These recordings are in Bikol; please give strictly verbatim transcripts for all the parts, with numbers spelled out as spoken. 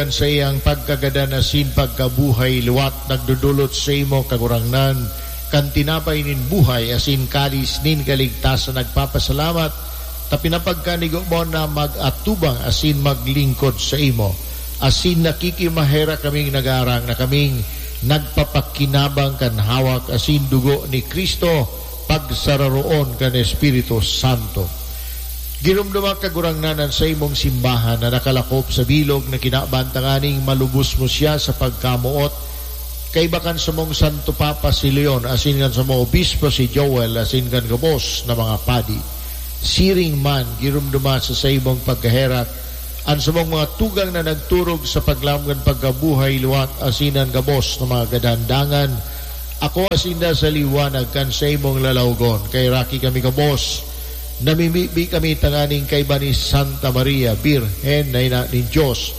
kan saiyang pagkagadan asin pagkabuhay liwat, nagdodolot saimo, Kagurangnan, kan tinapay nin buhay asin kalis nin kaligtasan, nagpapasalamat ta pinapagkanigo mo na mag-atubang asin maglingkod saimo. Asin nakikimaherak kaming nagaarang na kaming nagpapakinabang kan hawak asin dugo ni Cristo, pagsararoon kan Espiritu Santo. Giromdoma, Kagurangnan, an saimong simbahan na nakalakop sa bilog na kinaban, tanganing malubos mo siya sa pagkamoot, kaiba kan samong Santo Papa si Leon, asin kan samong Obispo si Joel, asin kan gabos na mga padi. Siring man, giromdoma sa saimong pagkaherak an samong mga tugang na nagturog sa paglaom kan pagkabuhay liwat, asin an gabos na mga gadan. Dangan, ako asinda sa liwanag kan saimong lalawgon. Kaheraki kami gabos, namimibi kami tanganing kaiba ni Santa Maria, Birhen na ina nin Dios,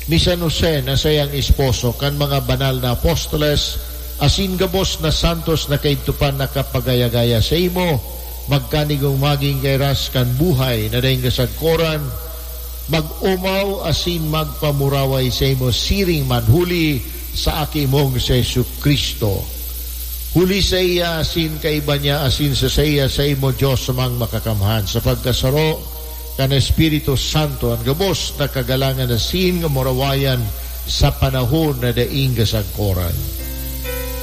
ni San Jose na saiyang esposo, kan mga banal na apostoles, asin gabos na santos na kaidto pa nakapagaya-gaya saimo, magkanigong magin kairas kan buhay na daing kasagkoran, mag-omaw asin magpamuraway saimo siring man huli sa Aki mong si Jesu-Cristo. Huli saiya asin kaiba niya asin sa saiya, saimo, Dios Amang Makakamhan, sa pagkasaro kan Espiritu Santo, an gabos na kagalangan asin kamurawayan sa panahon na daing kasagkoran.